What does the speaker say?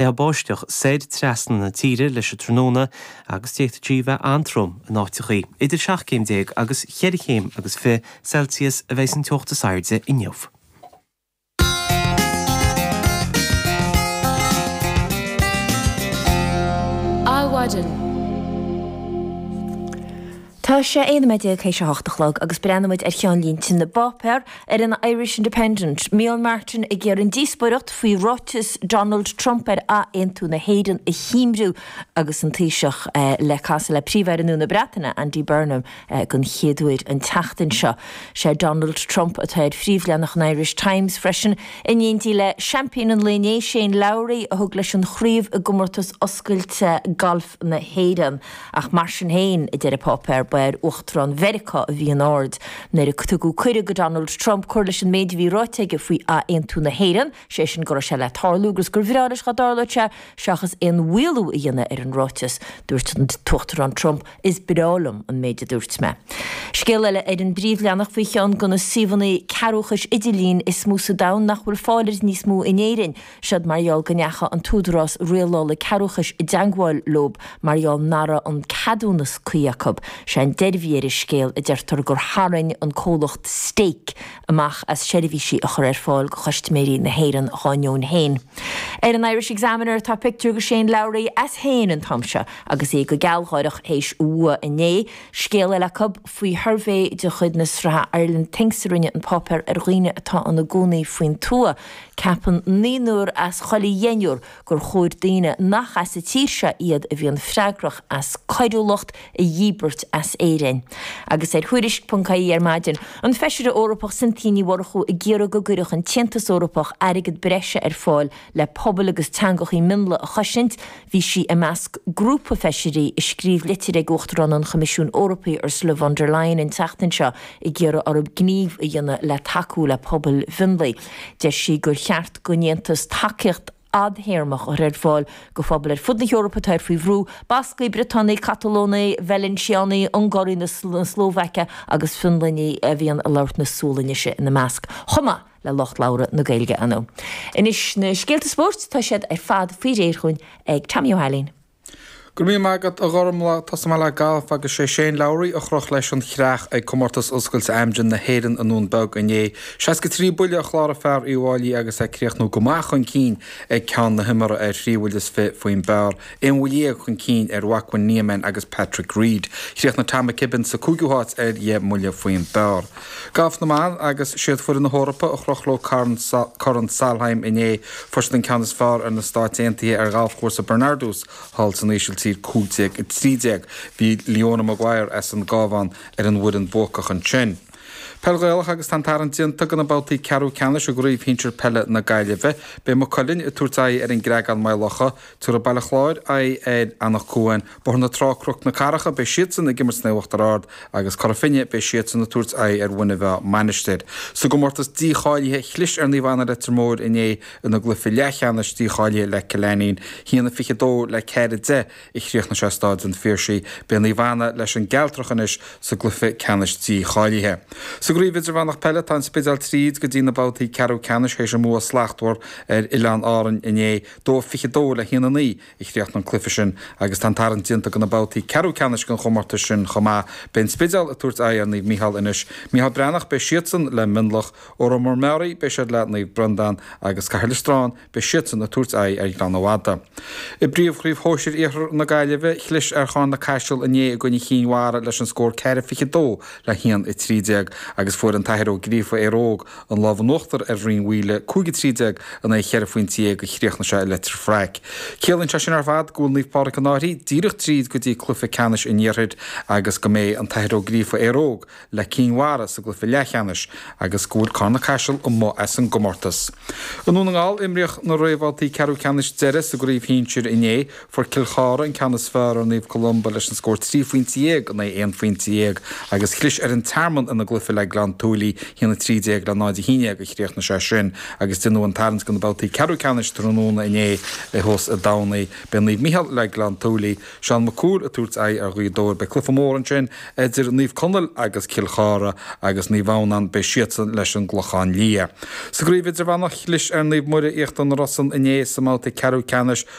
Léitheadh báisteach soir trasna na tíre leis an tráthnóna agus d'fhéadfadh sí bheith an-trom in áiteachaí. Idir 17 céim agus cheithre chéim agus 20 Celsius a bheidh an teocht is airde inniu. Adhmhaidin. Tá sé 11 nóiméad théis a hocht a chlog agus breathnóimid ar cheannlínte na bpáipéar ar an Irish Independent. Micheál Martin ag iarraidh an díospóireacht faoi ráiteas Donald Trump ar athaontú na hÉireann a thimthriú agus an Taoiseach le casadh le Príomh-Aire nua na Breataine, Andy Burnham, den chéad uair an tseachtain seo. Sé Donald Trump atá ar phríomhleathanach an Irish Times freisin, in éindí le seaimpín an lae inné, Shane Lowry, a thug leis an chraobh i gcomórtas oscailte gailf na hÉireann. Ach mar sin féin, a deir an páipéar, ba ar Uachtarán Mheiriceá a bhí an aird nuair a tugadh cuireadh do Donald Trump cur leis an méid a bhí ráite aige faoi athaontú na hÉireann, sé sin go raibh sé le tarlú agus gur bhreá leis dá dtarlódh sé, seachas aon mhaolú a dhéanamh ar an ráiteas. Dúirt an tUachtarán Trump, Is breá liom an méid a dúirt mé. Scéal eile ar an bpríomhleathanach faoi cheann de na suíomhanna cearrbhachais idirlín is mó sa domhan nach bhfuil fáil air níos mó in Éirinn. Seod mar gheall go ndeachaigh an tÚdarás Rialála Cearrbhachais i dteangmháil leob mar gheall nach raibh an ceadúnas cuí acu. Sé an deireadh a bhí ar an scéal, a deirtear, gur tharraing an comhlacht Stake amach as seirbhísí a chur ar fáil do chustaiméirí na hÉireann dhá ndeoin féin. Ar an Irish Examiner tá pictiúr de Shane Lowry as féin an t-am seo agus é go gealgháireach théis a bhua inné. Scéal eile acu faoi shuirbhé de chuid na sraithe Ireland Thinks a rinne an páipéar ar dhaoine atá ina gcónaí faoin tuath. Ceapann naonúr as chuile dheichniúr gur chóir daoine nach as an tír seo iad a bhíonn freagrach as coiriúlacht a dhíbirt as Éirinn. Agus ar Thuairisc.ie ar maidin, an Feisire Eorpach Cynthia Ní Mhurchú ag iarraidh go gcuirfeadh an tAontas Eorpach airgead breise ar fáil le pobail agus teangachaí mionlaigh a chosaint. Bhí sí i measc grúpa feisirí a scríobh litir ag Uachtarán an Choimisiúin Eorpaigh Ursula von der Leyen an tseachtain seo ag iarraidh orthu gníomh a dhéanamh le tacú le pobail mhionlaigh. Deir sí gur cheart don Aontas tacaíocht fhadthéarmach a chur ar fáil do phobail ar fud na hEorpa atá faoi bhrú, Bascaigh, Briotánaigh, Catalónaigh, Veilinsiánaigh, Ungáraigh na Slóvaice agus Fionlainnaigh a bhíonn ag labhairt na Sualainnise ina measc, chomh maith le lucht labhartha na Gaeilge, ar ndóigh. Anois na scéalta spóirt, tá siad ar fad faoi réir chugainn ag Tommy Ó hAilín. Go raibh míle maith agat, a Ghormlaith. Tosóidh mé le galf agus sé Shane Lowry a chroch leis an chreach ag Comórtas Oscailte Amgen na hÉireann i nDún Beag inné. 63 buille a chláraigh fear Uíbh Fháilí agus é ag críochnú go maith chun cinn ag ceann na himeartha ar thrí bhuille is fi faoin bpar, aon bhuille dhéag chun cinn ar Joaquin Niemann agus Patrick Reed. Chríochnaigh Tom McKibbin sa cúigiú háit ar dheich mbuille faoin bpar. Galf na mban agus siad foireann na hEorpa a chroch leo Corn Solheim inné. Fuair siad an ceann is fearr ar na Stáit Aontaithe ar ghalfchúrsa Bernardus thall san Ísiltír 15 13. Bhí Leona Maguire as an gCábhán ar an bhfoireann bhuacach ansin. Peil Ghaelach agus tá an tarraingt déanta do na babhtaí ceathrú ceannais i gCraobh Shinsir Peile na Gaillimhe. Beidh Maigh Cuilinn ag tabhairt aghaidh ar an gCreagán Maigh Locha. Tabharfaidh Baile Chláir aghaidh ar Anach Cuain. Bóthar na Trá Cnoc na Carracha, beidh siadsan ag imirt san Uachtar Ard agus Cora Finne, beidh siadsan ag tabhairt aghaidh ar Mhuine Mheá Mainistir. Sa gcomórtas dícháilithe, chlis ar Naomh Anna Leitir Móir inné ina gcluiche leathcheannais dícháilithe le Cill Ainnín, 1-22 le 4-10 a chríochnaigh sé i Stáid an Phiarsaigh. Beidh Naomh Anna leis an gCealtrach anois sa gcluiche ceannais dícháilithe. Sa gCraobh Idirmheánach Peile, tá an Spidéal tríd go dtí na babhtaí ceathrú ceannais théis a mbua slachtmhar ar Oileáin Árainn inné, 2-22 le 1-9. a chríochnaigh an cluiche sin agus tá an tarraingt déanta do na babhtaí ceathrú ceannais den chomórtas sin chomh maith. Beidh an Spidéal ag tabhairt aghaidh ar Naomh Micheál anois. Micheál Breathnach, beidh siadsan le Mionlach. Órán Mór Meáraí, beidh siad le Naomh Breandán agus Caherlistrane, beidh siadsan ag tabhairt aghaidh ar Ghleann Fhada. I bPríomhchraobh Shóisir Iarthar na Gaillimhe, chlis ar Charn na Caiseal inné i gcoinne Chinn Mhara leis an scór 4-22 le 1-13 agus fuair an tAthair Ó Gríofa Éire Óg an lámh in uachtar ar Rinn Mhaoile, 5-13 in aghaidh cheithre phointe dhéag a chríochnaigh sé i Leitir Fraic. Ciallaíonn sé sin ar fad go bhfuil Naomh Pádraig an Fhairche díreach tríd go dtí cluiche ceannais an iarthair agus go mbeidh an tAthair Ó Gríofa Éire Óg le Cinn Mhara sa gcluiche leathcheannais agus go bhfuil Carn na Caiseal amuigh as an gcomórtas. I nDún na nGall, imríodh na réamhbhabhtaí ceathrú ceannais deiridh sa gcraobh shinsir inné. Fuair Cill Chartha an ceann is fearr ar Naomh Columba leis an scór 13 phointe in aghaidh 11 phointe agus chlis ar an Tearmann ina gcluiche le. Gleann tSúilí, 1-13 le 0-11 a chríochnaigh sé sin agus déanadh an tarraingt do na babhtaí ceathrú ceannais tráthnóna inné thuas i dTamhnaigh. Beidh Naomh Micheál le Gleann tSúilí, Seán Mac Cumhaill ag tabhairt aghaidh ar Ghaoth Dobhair. Beidh cluiche mór ansin idir Naomh Conaill agus Cill Chartha agus Naomh Adhamhnáin, beidh siadsan leis an gClochán Liath. Sa gcraobh idirmheánach, chlis ar Naomh Muire Íochtar na Rosann inné sa mbabhta ceathrú ceannais.